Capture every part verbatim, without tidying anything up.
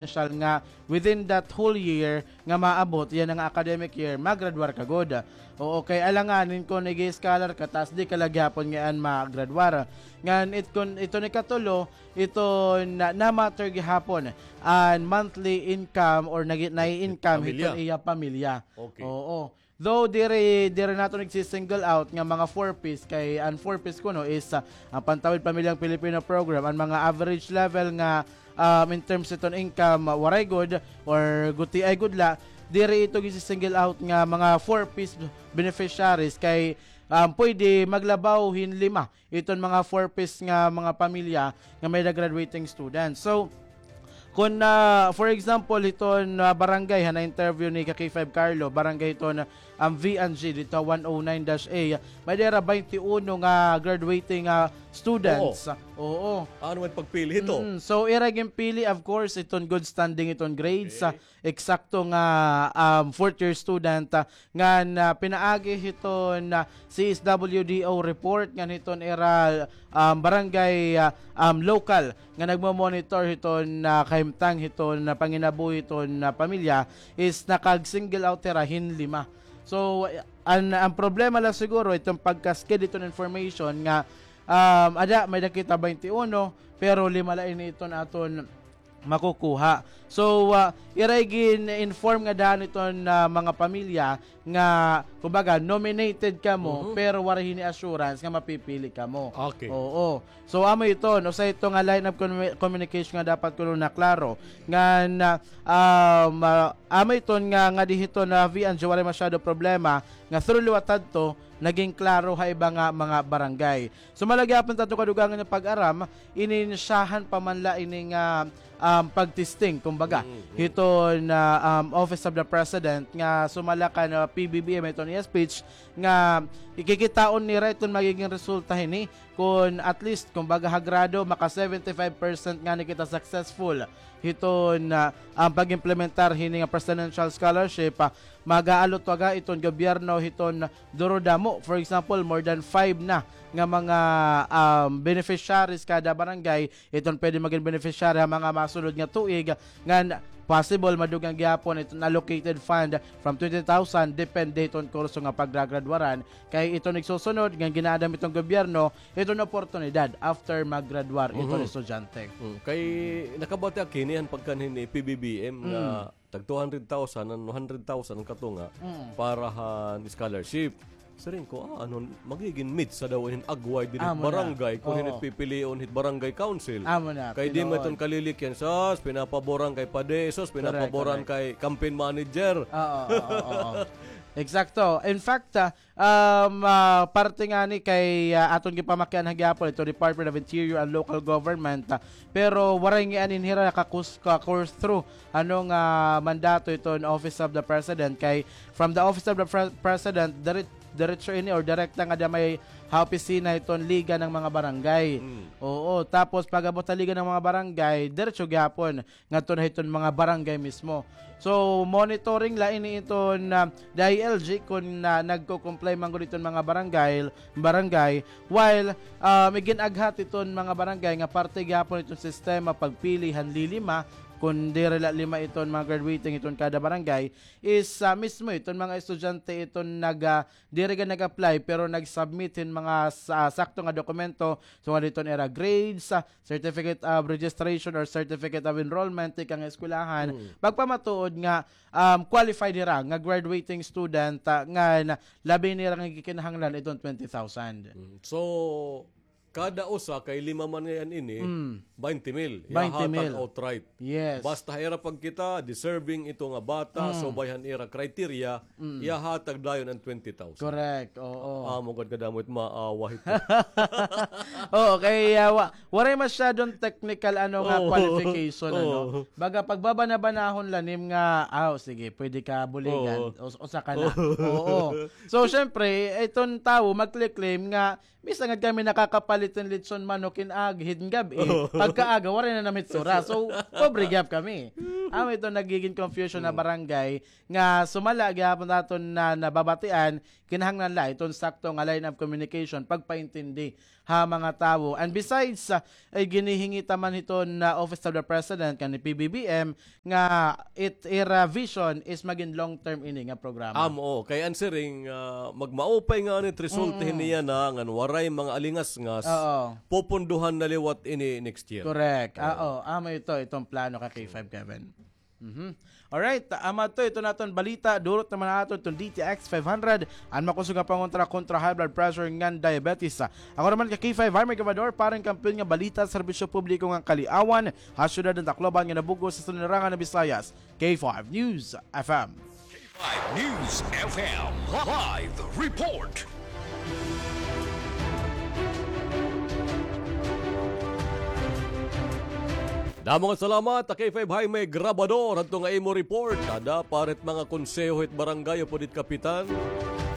potential nga within that whole year nga maabot yana nga academic year, magradwar ka gud. Oo, kay alanganin kon ig-scholar ka, tas di ka la gihapon ngay-an magradwar. Ngan it-, kon iton ikatulo, iton na, na-matter gihapon an monthly income or nagi-, nai-income hiton iya pamilya. Okay. Oo. Though diri, diri naton igsi-single out nga mga four Ps, kay an four Ps kuno is, ah, an Pantawid Pamilyang Pilipino Program, an mga average level nga, um, in terms iton income, ah, waray gud or gutiay gud la, diri ito igsi-single out nga mga four Ps beneficiaries kay, um, pwede maglabaw hin lima iton mga four Ps nga mga pamilya nga may-ada graduating students. So, kon, ah, for example, hiton, ah, barangay, ha na-interview ni ka K five Carlo, barangay hiton, um, V and G, dito one oh nine dash A, may-ada ira twenty-one nga graduating, ah, students. Oo. Ano man pagpili hito? Mm, so, ira ginpili, of course, iton good standing, iton grades, ah, eksakto nga, um, fourth year student, ah, ngan, ah, pinaagi hiton, ah, C S W D O report ngan hiton ira, um, barangay, ah, um, local nga nagmo-monitor hiton, ah, kahimtang hiton, ah, panginabuhi hiton, ah, pamilya is nakag-single out hira hin lima. So, an, an problema la siguro iton pagkasakit hiton information nga, um, ada, may-ada kita twenty-one, pero lima la ini iton aton makukuha. So, ah, ira gin-inform ngada hiton, ah, mga pamilya nga, kumbaga, nominated kamo, pero waray hini assurance nga mapipili kamo. Okay. Oo. So, amo iton, usa ito nga line of commu-, communication nga dapat kuno naklaro. Ngan, ah, um, ah, amo iton nga, ngadi hiton V and G waray masyado problema, nga through liwat adto, naging klaro ha iba nga mga barangay. Sumala gihapon ta aton kadugangan nga pag-aram, ininisyahan pa man la ini nga, um, pagtesting, kumbaga, hiton, ah, um, Office of the President nga sumala kan, ah, P B B M iton iya speech nga ikikitaon nira iton magiging resulta hini kon at least, kumbaga, ha grado, maka seventy-five percent ngani kita successful hiton, ah, um, pag-implementar hini nga presidential scholarship, ah, mag-aalot waga iton gobyerno hiton duro damo. For example, more than five na nga mga, um, beneficiaries kada barangay iton pwede magin beneficiary ha mga masunod nga tuig. Ngan possible madugang gihapon iton allocated fund from twenty thousand, depende hiton kurso nga pagragraduaran. Kay iton igsusunod nga gin-aadam iton gobyerno, iton oportunidad after maggraduar iton estudyante. Mm. Kay nakabati ak hini han pagkanhi ni P B B M nga tag two hundred thousand, an hundred thousand an katunga para han scholarship. Siring ko, ah, ano, magigin mitsa daw hin agway diri hit barangay kon hin it pipilion hit barangay council. Amo na, kay di man iton kalilikyan, sas, pinapaboran kay padi, sas, pinapaboran kay campaign manager. Oo, oo, oo. Eksakto. In fact, ah, um, ah, parte ngani kay, ah, aton gipamakianhan gihapon iton Department of Interior and Local Government, ah, pero waray ngay-an hira nakakus-, ka-course through ano nga mandato iton Office of the President, kay from the Office of the Pre-, President, dire-, diretso ini or direkta ngada may ha opisina iton Liga ng mga Barangay. Oo, tapos pag-abot ha Liga ng mga Barangay, diretso gihapon ngadto na hiton mga barangay mismo. So, monitoring la ini iton, ah, D I L G kon, ah, nagko-comply man gud iton mga barangay, barangay, while, um, igin-aghat iton mga barangay nga parte gihapon iton sistema pagpili han lilima, kon diri la lima iton mga graduating iton kada barangay, is, ah, mismo iton mga estudyante iton nag, ah, diri gad nag-apply pero nag-submit hin mga sa-, sakto nga dokumento, sugad hiton ira grades, ah, certificate of registration or certificate of enrollment tikang eskwelahan, pagpamatuod nga, um, qualified hira nga graduating student, ah, ngan labi nira nga gikinahanglan iton twenty thousand. Mm. So, kada usa kay lima man ngay-an ini, twenty mil. Ihahatag outright. Yes. Basta ha ira pagkita, deserving ito nga bata, subay han ira criteria, ihahatag dayon an twenty thousand. Correct, oo. Amo gad kadamo it maawa hito. Oo, kay, ah, wa-, waray masyadong technical, ano nga, qualification, ano. Baga pagbabana-banahon la nim nga, ah, sige, pwede ka buligan, us-, usa ka na. Oo. So, syempre, iton tawo magkle-claim nga, bisan gad kami nakakapalit hin litson manok hin ag-, hin gab-i, pagkaaga, waray na nam hitsura. So, pobre gihap kami. Amo ito nagiging confusion na barangay nga sumala gihapon aton na nababatian, kinahanglan la iton sakto nga line of communication, pagpaintindi ha mga tawo. And besides, ah, ay ginihingi ta man hiton Office of the President kan P B B M nga it ira vision is magin long term ini nga programa. Amo, kay an siring, ah, magmaupay nga anit result hiniya na ngan waray mga alingasngas, pupunduhan na liwat ini next year. Correct. Oo, amo ito, itong plano ka K five, Kevin. Mhm. Alright, amo to, ito naton balita, durot naman naton itong D T X five hundred, an makusog nga pangontra kontra high blood pressure ngan diabetes. Ako naman ka K five Harmer Gabador, parang kampiyon nga balita, serbisyo publiko ngan kaliawan, ha siyudad han Tacloban ngan ha bug-os nga sinirangan han Visayas. K five News F M. K five News F M, live report. Damo nga salamat, K five Jaime Grabador, hadto nga imo report. Ada pa hit mga konseho hit barangay upod hit kapitan.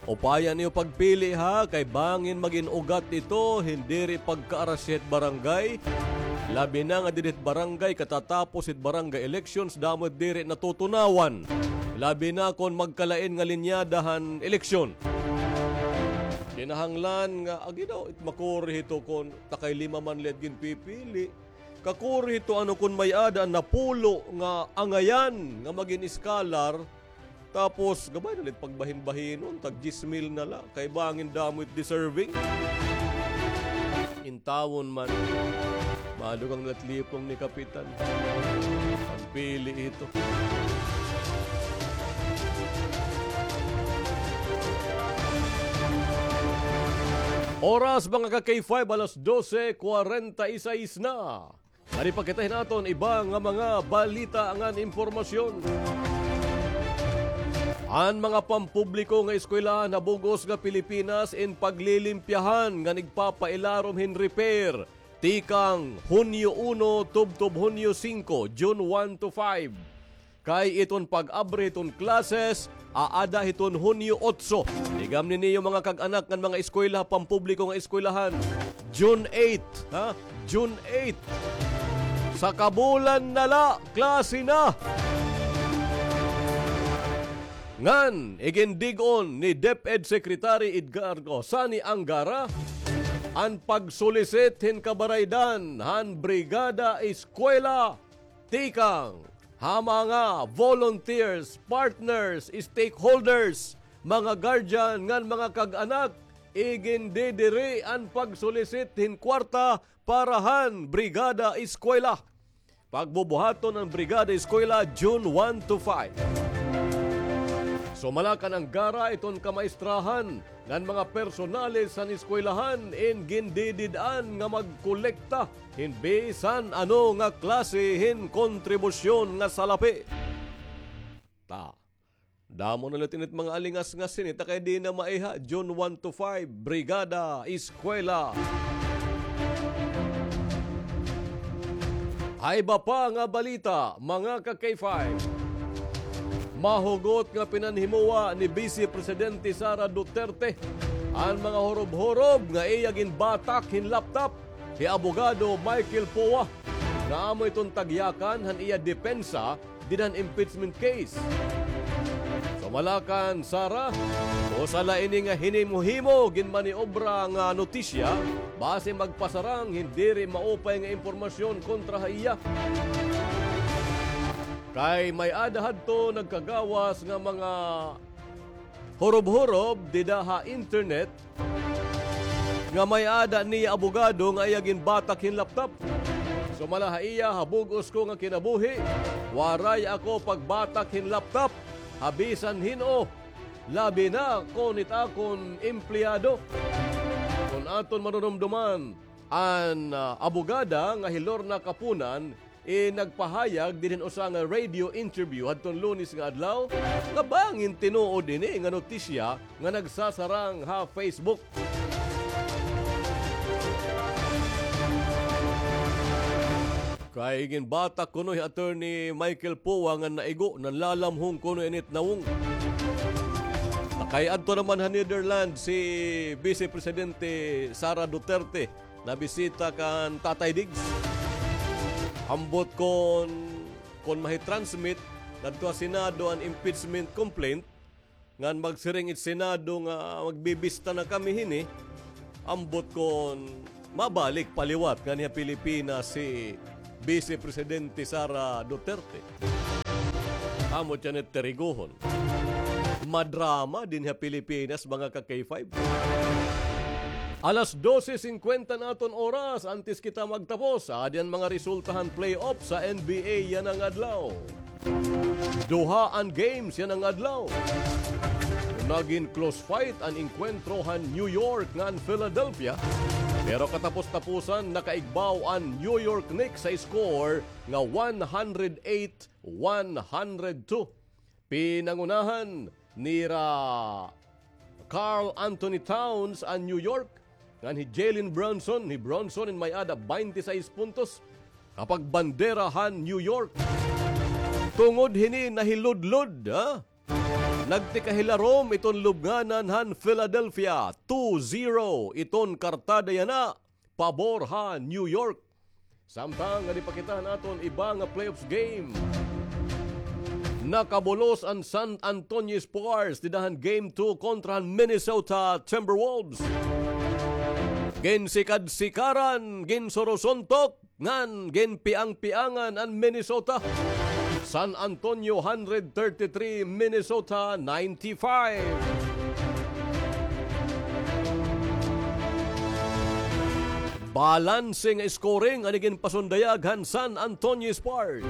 Upaya niyo pagpili, ha, kay bangin magin ugat ito hin diri pagkaarasya hit barangay. Labi na nga didi hit barangay, katatapos hit barangay elections, damo it diri natutunawan. Labi na kon magkalain nga linyada han eleksyon. Kinahanglan nga, agi daw, it makuri hito kon takay lima man la it ginpipili. Kakuri hito ano kon may-ada napulo nga angayan nga magin scholar, tapos gabay na la it pagbahin-bahinon, tag diyes mil na la, kay bangin damo it deserving. Intawon man, madugang na la it lipong ni Kapitan. Pagpili hito. Oras, mga ka K five, alas dose kwarenta y seis na. Ngani pa kita hin aton iba nga mga balita ngan impormasyon. An mga pampubliko nga eskwelahan ha bug-os nga Pilipinas in paglilimpyahan ngan igpapailarom hin repair tikang Hunyo uno tubtob Hunyo singko, June one to five. Kay iton pag-abri hiton classes, aada hiton Hunyo otso. Igamni niyo mga kag-anak ngan mga eskwela, pampubliko nga eskwelahan. June eight, ha? June eight. Sa kabulan na la, klase na. Ngan, igindig-on ni DepEd Secretary Edgardo Sani Angara an pagsulisit hin kabaraydan han Brigada Eskwela tikang ha mga volunteers, partners, stakeholders, mga guardian ngan mga kag-anak, igindidiri an pagsulisit hin kwarta para han Brigada Eskwela. Pagbubuhaton an Brigada Eskwela June one to five. Sumala kan Angara, iton kamaestrahan ngan mga personales han eskwelahan in gindidid-an nga magkolekta hin bisan ano nga klase hin kontribusyon nga salapi. Ta, damo na la it init mga alingasngas hini, ta kay di na maiha, June one to five, Brigada Eskwela. Ha iba pa nga balita, mga ka K five. Mahugot nga pinanhimowa ni Vice Presidente Sara Duterte an mga hurob-hurob nga iya ginbatak hin laptop hi Abogado Michael Poa, nga amo iton tagyakan han iya depensa dida han impeachment case. Sumala kan Sara, usa la ini nga hinimo-himo ginmaniobra nga notisya, basi magpasarang hin diri maupay nga impormasyon kontra ha iya. Kay may-ada hadto nagkagawas nga mga hurob-hurob dida ha internet nga may-ada niya abogado nga iya ginbatak hin laptop. Sumala ha iya, ha bug-os ko nga kinabuhi, waray ako pagbatak hin laptop ha bisan hin-o, labi na kon it akon empleyado. Kon aton marurumduman, an, ah, abogada nga hi Lorna Kapunan, eh, nagpahayag dinhi hin usa nga radio interview hadton Lunes nga adlaw nga bangin tinuod ini nga notisya nga nagsasarang ha Facebook. Kay ginbatak kuno hi Attorney Michael Poa nga naigo, nanlalamhong kuno init nawong. Kay adto naman ha Netherlands si Vice Presidente Sara Duterte. Nabisita kan Tatay Diggs. Ambot kon kon mahi-transmit ngadto ha Senado an impeachment complaint, ngan magsiring it Senado nga magbibista na kami hini, ambot kon mabalik pa liwat nganhi ha Pilipinas hi Vice Presidente Sara Duterte. Amo tiyan it tirigohon. Madrama dinhi ha Pilipinas, mga ka-K five. Alas dose singkwenta na aton oras, antes kita magtapos, adi an mga resulta han playoff sa N B A yana nga adlaw. Duha an games yana nga adlaw. Nagin close fight an engkwentro han New York ngan Philadelphia, pero katapos-tapusan nakaigbaw an New York Knicks sa score nga one hundred eight one hundred two. Pinangunahan nira Karl Anthony Towns an New York, ngan hi Jalen Brunson, hi Brunson in may-ada baynte sais puntos, kapagbandera han New York. Tungod hini nahiludlod, ha? Nagtikahilarom iton lubnganan han Philadelphia, two zero iton kartada yana, pabor han New York. Samtang adi pa kita han aton iba nga playoffs game. Nakabulos an San Antonio Spurs dida han game two kontra han Minnesota Timberwolves. Ginsikad-sikaran, ginsurusuntok, ngan ginpiang-piangan an Minnesota. San Antonio hundred thirty-three, Minnesota ninety-five. Balanse nga scoring an iginpasundayag han San Antonio Spurs.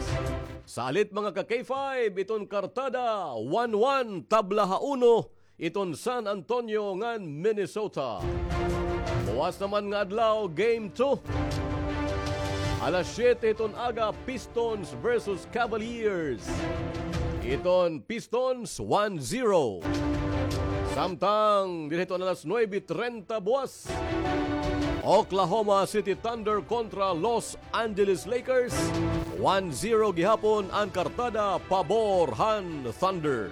Salit, mga ka-K five, iton kartada, one one, tabla ha uno iton San Antonio ngan Minnesota. Buwas naman nga adlaw, game two. Alas siyete iton aga, Pistons versus Cavaliers. Iton Pistons, one zero. Samtang dinhi iton alas nuebe trenta buwas, Oklahoma City Thunder kontra Los Angeles Lakers, one zero gihapon an kartada pabor han Thunder.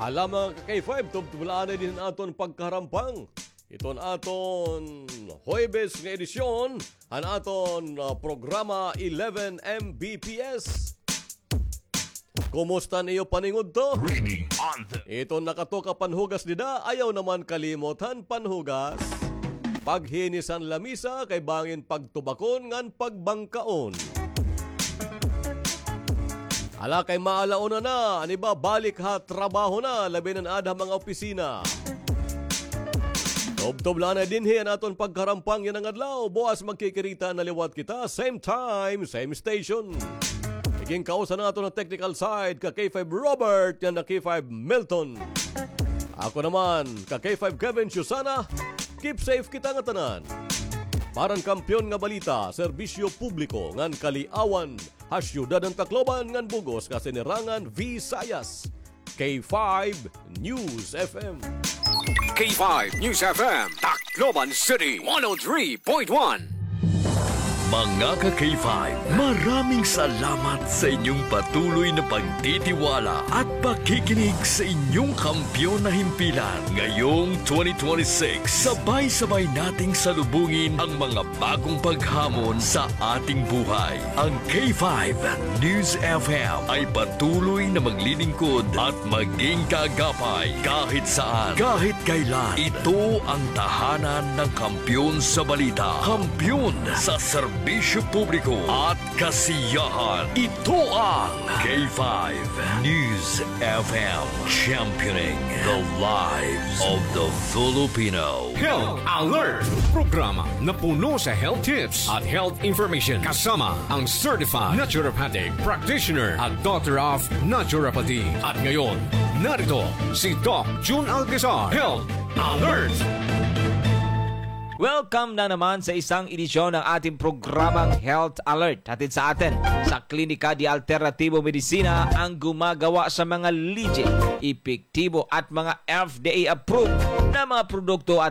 Hala, mga ka-K five, tubtob la anay dinhi an aton pagkaharampang iton aton Huwebes nga edisyon han aton, ah, programa eleven M B P S. Kumusta an iyo paningudto? Reading on the Iton nakatuka panhugas dida, ayaw naman kalimot han panhugas. Paghinisan lamisa kay bangin pagtubakon ngan pagbangkaon. Hala, kay maala-una na, an iba balik ha trabaho na, labi na an aada ha mga opisina. Tubtob la anay dinhi an aton pagkaharampang yana nga adlaw. Buwas magkikirita na liwat kita, same time, same station. Iginkausa naton ha technical side, ka-K five Robert, ngan ka-K five Milton. Ako naman, ka-K five Kevin Susana, keep safe kita ngatanan. Para han Kampiyon nga Balita, Serbisyo Publiko ngan Kaliawan, ha syudad han Tacloban ngan bug-os nga sinirangan Visayas, K five News F M. K five News F M, Tacloban City, one oh three point one. Mga ka-K five, maraming salamat sa inyong patuloy na pagtitiwala at pakikinig sa inyong kampiyon na himpilan. Ngayong twenty twenty-six, sabay-sabay nating salubungin ang mga bagong paghamon sa ating buhay. Ang K five News F M ay patuloy na maglilingkod at maging kaagapay kahit saan, kahit kailan. Ito ang tahanan ng kampiyon sa balita, kampiyon sa serbisyo publiko at kasiyahan. Ito ang K five News F M, championing the lives of the Filipino. Health Alert, programa na puno sa health tips at health information, kasama ang certified naturopathic practitioner at Doctor of Naturopathy. At ngayon, narito si Doc Jun Alcazar. Health Alert! Welcome na naman sa isang edisyon ng ating programang Health Alert. Hatid sa atin sa Klinika de Alternativo Medicina, ang gumagawa sa mga legit, epektibo at mga F D A approved na mga produkto at